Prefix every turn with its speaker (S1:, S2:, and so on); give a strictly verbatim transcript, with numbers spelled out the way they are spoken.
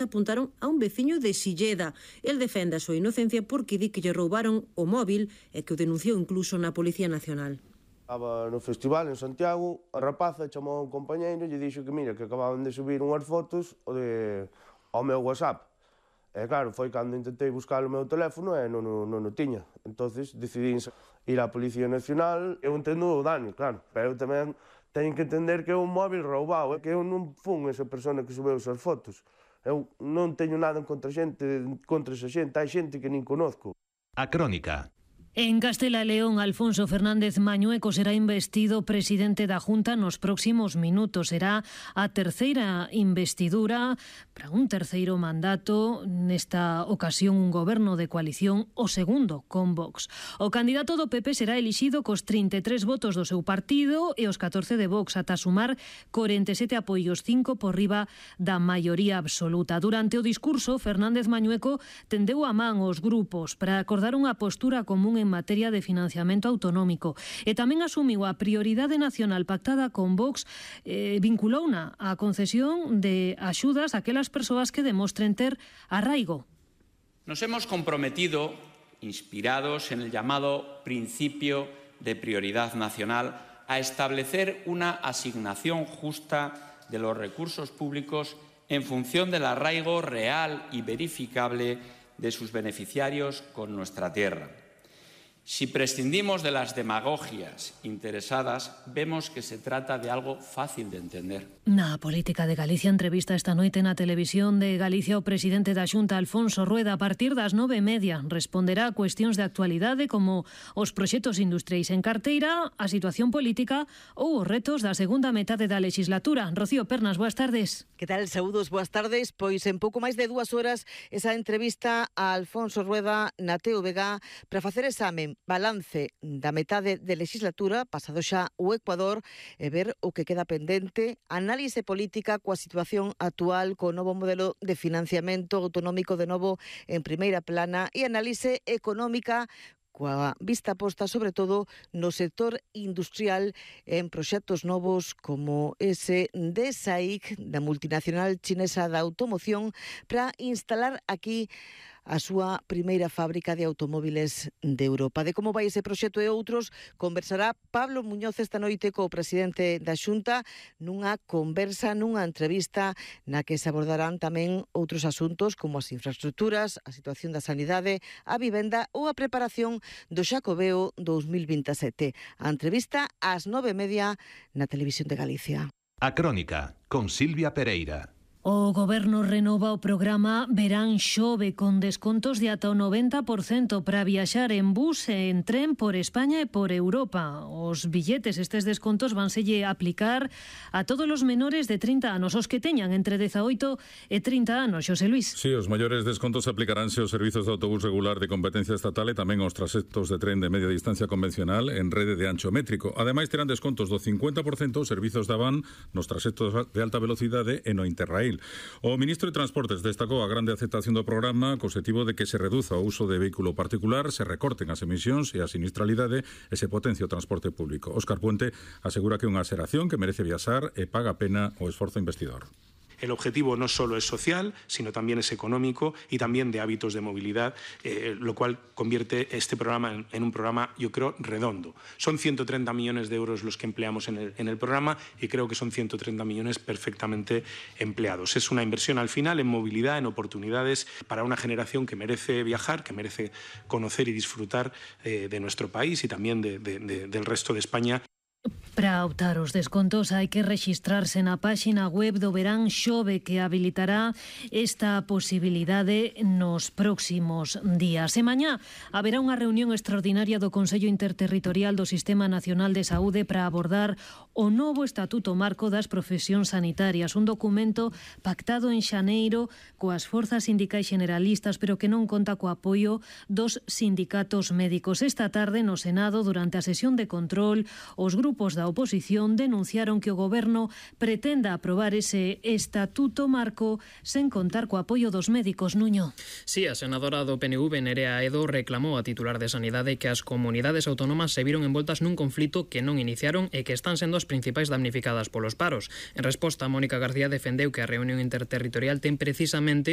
S1: apuntaron a un veciño de Silleda. El defende a súa inocencia porque di que lle roubaron o móvil e que o denunciou incluso na Policía Nacional.
S2: Estaba no festival en Santiago, a rapaza chamou a un compañeiro e lle dixo que mira, que acababan de subir unhas fotos de, ao meu WhatsApp. E claro, foi cando intentei buscar o meu teléfono e non, non, non o tiña. Entonces decidí ir á Policía Nacional. Eu entendo o daño, claro, pero eu tamén teño que entender que é un móvil roubado, que eu non fun esa persona que subeu esas fotos. Eu non teño nada en contra xente, contra esa xente, hai xente que nin conozco.
S3: A Crónica.
S4: En Castela e León, Alfonso Fernández Mañueco será investido presidente da Junta nos próximos minutos. Será a terceira investidura para un terceiro mandato, nesta ocasión un goberno de coalición, o segundo con Vox. O candidato do P P será elixido cos trinta e tres votos do seu partido e os catorce de Vox, ata sumar corenta e sete apoios, cinco por riba da maioría absoluta. Durante o discurso, Fernández Mañueco tendeu a man os grupos para acordar unha postura común en materia de financiamento autonómico e tamén asumiu a prioridade nacional pactada con Vox, eh, vinculouna á concesión de axudas a aquelas persoas que demostren ter arraigo.
S5: Nos hemos comprometido, inspirados en el llamado principio de prioridad nacional, a establecer una asignación justa de los recursos públicos en función del arraigo real y verificable de sus beneficiarios con nuestra tierra. Si prescindimos de las demagogias interesadas, vemos que se trata de algo fácil de entender.
S4: Na política de Galicia, entrevista esta noite na televisión de Galicia o presidente da Xunta, Alfonso Rueda. A partir das nove e media responderá a cuestións de actualidade como os proxectos industriais en carteira, a situación política ou os retos da segunda metade da legislatura. Rocío Pernas, boas tardes.
S6: Que tal, saúdos, boas tardes. Pois en pouco máis de dúas horas esa entrevista a Alfonso Rueda na T V G para facer examen, balance da metade de legislatura, pasado xa o Ecuador, e ver o que queda pendente, análise política coa situación actual, co novo modelo de financiamento autonómico de novo en primeira plana, e análise económica coa vista posta sobre todo no sector industrial en proxectos novos como ese de S A I C, da multinacional chinesa da automoción, para instalar aquí a súa primeira fábrica de automóviles de Europa. De como vai ese proxecto e outros, conversará Pablo Muñoz esta noite co presidente da Xunta nunha conversa, nunha entrevista na que se abordarán tamén outros asuntos como as infraestructuras, a situación da sanidade, a vivenda ou a preparación do Xacobeo dous mil vinte e sete. A entrevista ás nove e media na Televisión de Galicia.
S3: A Crónica, con Silvia Pereira.
S4: O Goberno renova o programa Verán Xove con descontos de ata o noventa por cento para viaxar en bus e en tren por España e por Europa. Os billetes, estes descontos, vanselle aplicar a todos os menores de trinta anos, os que teñan entre dezaoito e trinta anos. Xosé Luis.
S7: Sí, os maiores descontos aplicaránse aos servizos de autobús regular de competencia estatal e tamén aos traxectos de tren de media distancia convencional en rede de ancho métrico. Ademais, terán descontos do cincuenta por cento os servizos da van nos traxectos de alta velocidade e no Interrail. O ministro de Transportes destacou a grande aceptación do programa co objetivo de que se reduza o uso de vehículo particular, se recorten as emisións e a sinistralidade e se potencie o transporte público. Óscar Puente asegura que é unha xeración que merece viaxar e paga a pena o esforzo investidor.
S8: El objetivo no solo es social, sino también es económico y también de hábitos de movilidad, eh, lo cual convierte este programa en, en un programa, yo creo, redondo. Son ciento treinta millones de euros los que empleamos en el, en el programa y creo que son ciento treinta millones perfectamente empleados. Es una inversión al final en movilidad, en oportunidades para una generación que merece viajar, que merece conocer y disfrutar eh, de nuestro país y también de, de, de, del resto de España.
S4: Para optar os descontos hai que rexistrarse na páxina web do Verán Xove, que habilitará esta posibilidade nos próximos días. E mañá haberá unha reunión extraordinaria do Consello Interterritorial do Sistema Nacional de Saúde para abordar o novo Estatuto Marco das Profesións Sanitarias, un documento pactado en xaneiro coas forzas sindicais generalistas, pero que non conta co apoio dos sindicatos médicos. Esta tarde no Senado, durante a sesión de control, os grupos da oposición denunciaron que o Goberno pretenda aprobar ese Estatuto Marco sen contar co apoio dos médicos. Nuño.
S9: Sí, a senadora do P N V, Nerea Edo, reclamou a titular de Sanidade que as comunidades autónomas se viron envoltas nun conflito que non iniciaron e que están sendo as principais damnificadas polos paros. En resposta, Mónica García defendeu que a reunión interterritorial ten precisamente